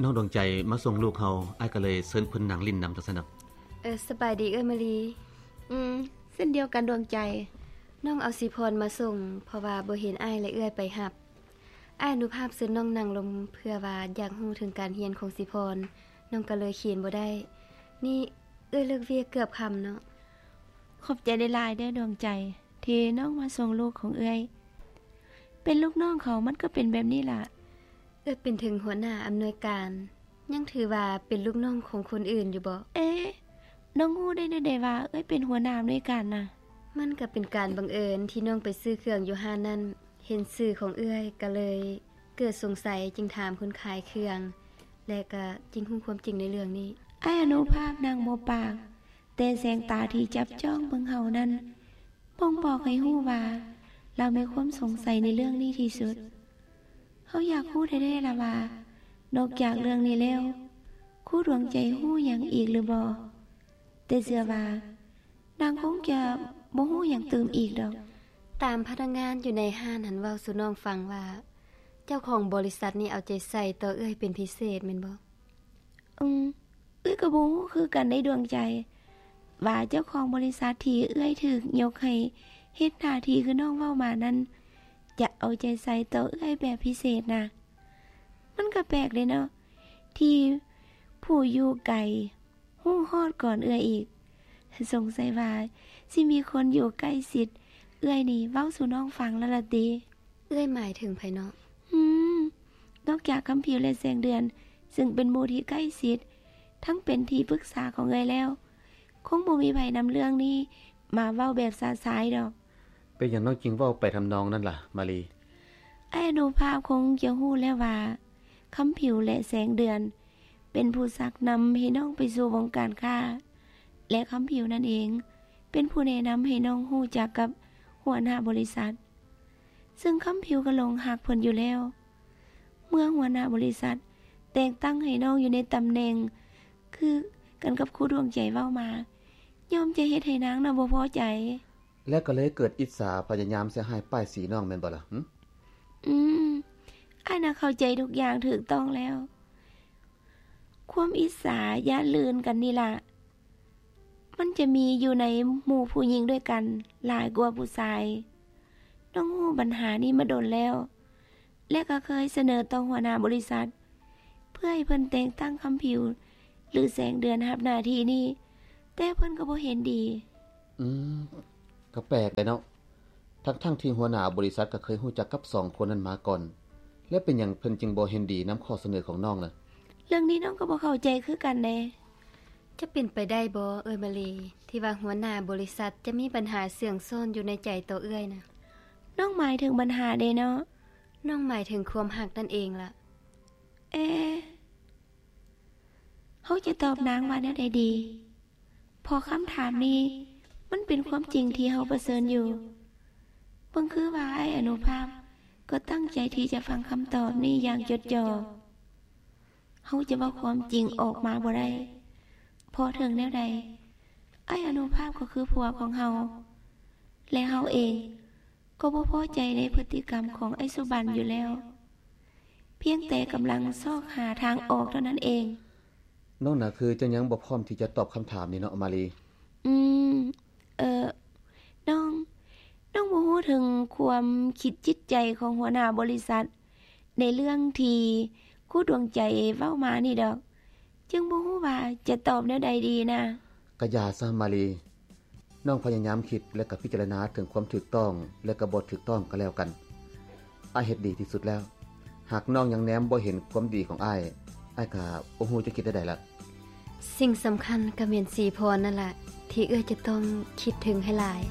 ນ້ອງດວງໃຈມາສົ່ງລູກເຮົາ, ອ້າຍກໍເລີຍເຊີນເພິ່ນນັ່ງຫຼິ້ນນຳຈັ່ງຊັ້ນດອກ. ເອີ, ສະບາຍດີເອື້ອຍມາລີ. ອືມ, ເຊັ່ນດຽວກັນດວງໃຈ. ນ້ອງເອົາສີພອນມາສົ່ງ ເພາະວ່າບໍ່ເຫັນອ້າຍ ແລະ ເອື້ອຍໄປຮັບ. ອ້າຍອະນຸພາບເຊີນນ້ອງນັ່ງລົງ ເພື່ອວ່າຢາກຮູ້ເຖິງການຮຽນຂອງສີພອນ, ນ້ອງກໍເລີຍຂຽນບໍ່ໄດ້. ນີ້ເອື້ອຍເລີກວຽກເກືອບຄ່ຳເນາະ. ຂອບໃຈຫຼາຍໆເດີ້ດວງໃຈ ທີ່ນ້ອງມາສົ່ງລູກຂອງເອື້ອຍ. ເປັນລູກນ້ອງເຂົາມັນກໍເປັນແບບນີ້ລະ. ເອື້ອຍເປັນເຖິງຫົວໜ້າອຳນວຍການ, ຍັງຖືວ່າເປັນລູກນ້ອງຂອງຄົນອື່ນຢູ່ບໍ? ເອ, ນ້ອງຮູ້ໄດ້ແນວໃດວ່າເອື້ອຍເປັນຫົວໜ້າອຳນວຍການນະ? ມັນກໍເປັນການບັງເອີນທີ່ນ້ອງໄປຊື້ເຄື່ອງຢູ່ຮ້ານນັ້ນ, ເຫັນຊື່ຂອງເອື້ອຍກໍເລີຍເກີດສົງໄສ, ຈຶ່ງຖາມຄົນຂາຍເຄື່ອງ ແລະ ກໍຈຶ່ງຮູ້ຄວາມຈິງໃນເລື່ອງນີ້. ອ້າຍອະນຸພາບນັ່ງບໍ່ປາກ, ແຕ່ແສງຕາທີ່ຈັບຈ້ອງເບິ່ງເຮົານັ້ນບົ່ງບອກໃຫ້ຮູ້ວ່າລາວມີຄວາມສົງໄສໃນເລື່ອງນີ້ທີ່ສຸດ. ເຮົາຢາກຮູ້ແທ້ໆລະວ່າ ນອກຈາກເລື່ອງນີ້ແລ້ວ ຄູດວງໃຈຮູ້ຫຍັງອີກຫຼືບໍ່? ແຕ່ເຊື່ອວ່ານາງຄົງຈະບໍ່ຮູ້ຫຍັງຕື່ມອີກດອກ. ຕາມພະນັກງານຢູ່ໃນຮ້ານຫັ້ນເວົ້າສູ່ນ້ອງຟັງວ່າ ເຈົ້າຂອງບໍລິສັດນີ້ເອົາໃຈໃສ່ຕໍ່ເອື້ອຍເປັນພິເສດແມ່ນບໍ່? ອືມ, ເອື້ອຍກໍບໍ່ຮູ້ຄືກັນເດ້ດວງໃຈ ວ່າເຈົ້າຂອງບໍລິສັດທີ່ເອື້ອຍຖືກຍົກໃຫ້ເຮັດໜ້າທີ່ຄືນ້ອງເວົ້າມານັ້ນ ຈະເອົາໃຈໃສ່ຕໍ່ເອື້ອຍແບບພິເສດນະ. ມັນກໍແປກເດ້ເນາະ ທີ່ຜູ້ຢູ່ໄກຮູ້ຮອດກ່ອນເອື້ອຍອີກ. ສົງໄສວ່າຊິມີຄົນຢູ່ໃກ້ຊິດເອື້ອຍນີ້ເວົ້າສູ່ນ້ອງຟັງແລ້ວລະຕິ. ເອື້ອຍໝາຍເຖິງໃຜເນາະ? ອືມ, ນອກຈາກຄຳຜິວ ແລະ ແສງເດືອນ ເຊິ່ງເປັນໝູ່ທີ່ໃກ້ຊິດ ທັງເປັນທີ່ປຶກສາຂອງເອື້ອຍແລ້ວ, ຄົງບໍ່ມີໃຜນຳເລື່ອງນີ້ມາເວົ້າແບບຊະຊາຍດອກ. ເປັນຫຍັງນ້ອງຈຶ່ງເວົ້າໄປທຳນອງນັ້ນລະ ມາລີ? ອ້າຍອະນຸພາບຄົງຈະຮູ້ແລ້ວວ່າ ຄຳຜິວ ແລະ ແສງເດືອນ ເປັນຜູ້ຊັກນຳໃຫ້ນ້ອງໄປສູ່ວົງການຄ້າ ແລະ ຄຳຜິວນັ້ນເອງ ເປັນຜູ້ແນະນຳໃຫ້ນ້ອງຮູ້ຈັກກັບຫົວໜ້າບໍລິສັດ. ເຊິ່ງຄຳຜິວກໍຫຼົງຮັກເພິ່ນຢູ່ແລ້ວ. ເມື່ອຫົວໜ້າບໍລິສັດແຕ່ງຕັ້ງໃຫ້ນ້ອງຢູ່ໃນຕຳແໜ່ງຄືກັນກັບຄູດວງໃຈເວົ້າມາ, ຍ່ອມຈະເຮັດໃຫ້ນາງນະບໍ່ພໍໃຈ ແລະ ກໍເລີຍເກີດອິດສາ ພະຍາຍາມໃສ່ຮ້າຍປ້າຍສີນ້ອງແມ່ນບໍ່ລະ? ຫຶ? ອືມ, ອ້າຍນະເຂົ້າໃຈທຸກຢ່າງຖືກຕ້ອງແລ້ວ. ຄວາມອິດສາຢ້ານລື່ນກັນນີ້ລະ ມັນຈະມີຢູ່ໃນໝູ່ຜູ້ຍິງດ້ວຍກັນຫຼາຍກວ່າຜູ້ຊາຍ. ນ້ອງຮູ້ບັນຫານີ້ມາດົນແລ້ວ ແລະ ກໍເຄີຍສະເໜີຕໍ່ຫົວໜ້າບໍລິສັດ ເພື່ອໃຫ້ເພິ່ນແຕ່ງຕັ້ງຄຳຜິວ ຫຼື ແສງເດືອນຮັບໜ້າທີ່ນີ້, ແຕ່ເພິ່ນກໍບໍ່ເຫັນດີ. ອືມ, ກໍແປກໄດ໋ເນາະ. ທັງໆທີ່ຫົວໜ້າບໍລິສັດກໍເຄີຍຮູ້ຈັກກັບສອງຄົນນັ້ນມາກ່ອນ, ແລ້ວເປັນຫຍັງເພິ່ນຈຶ່ງບໍ່ເຫັນດີນຳຂໍ້ສະເໜີຂອງນ້ອງນະ? ເລື່ອງນີ້ນ້ອງກໍບໍ່ເຂົ້າໃຈຄືກັນເດ້. ຈະເປັນໄປໄດ້ບໍ່ ເອື້ອຍມາລີ ທີ່ວ່າຫົວໜ້າບໍລິສັດຈະມີບັນຫາເຊື່ອງຊ້ອນຢູ່ໃນໃຈຕໍ່ເອື້ອຍນະ? ນ້ອງໝາຍເຖິງບັນຫາເດ້ເນາະ? ນ້ອງໝາຍເຖິງຄວາມຮັກນັ້ນເອງລະ. ເອ, ເຮົາຈະຕອບນາງວ່າແນວໃດດີ? ເພາະຄຳຖາມນີ້ມັນເປັນຄວາມຈິງທີ່ເຮົາປະເຊີນຢູ່. ເບິ່ງຄືວ່າອ້າຍອະນຸພາບກໍຕັ້ງໃຈທີ່ຈະຟັງຄຳຕອບນີ້ຢ່າງຈົດຈ່ອ. ເຮົາຈະເວົ້າຄວາມຈິງອອກມາບໍ່ໄດ້, ເພາະເຖິງແນວໃດ ອ້າຍອະນຸພາບກໍຄືຜົວຂອງເຮົາ, ແລະ ເຮົາເອງ ກໍບໍ່ພໍໃຈໃນພຶດຕິກຳຂອງອ້າຍສຸບັນຢູ່ແລ້ວ, ພຽງແຕ່ກຳລັງຊອກຫາທາງອອກເທົ່ານັ້ນເອງ. ນ້ອງນະຄືຈະຍັງບໍ່ພ້ອມທີ່ຈະຕອບຄຳຖາມນີ້ເນາະ ມາລີ? ອືມ, ເອີ, ນ້ອງ, ນ້ອງບໍ່ຮູ້ເຖິງຄວາມຄິດຈິດໃຈຂອງຫົວໜ້າບໍລິສັດໃນເລື່ອງທີ່ຄູດວງໃຈເວົ້າມານີ້ດອກ. ຈຶ່ງບໍ່ຮູ້ວ່າຈະຕອບແນວໃດດີນະ. ກະຢ່າຊະ ມາລີ. ນ້ອງພະຍາຍາມຄິດ ແລະ ກະພິຈາລະນາເຖິງຄວາມຖືກຕ້ອງ ແລະ ກະບໍ່ຖືກຕ້ອງກໍແລ້ວກັນ. ອ້າຍເຮັດດີທີ່ສຸດແລ້ວ. ຫາກນ້ອງຍັງແນມບໍ່ເຫັນຄວາມດີຂອງອ້າຍ, ອ້າຍກະບໍ່ຮູ້ຈະຄິດແນວໃດລະ. ສິ່ງສຳຄັນກະແມ່ນສີພອນນັ້ນລະ ທີ່ເອື້ອຍຈະຕ້ອງຄິດເຖິງໃຫ້ຫຼາຍ.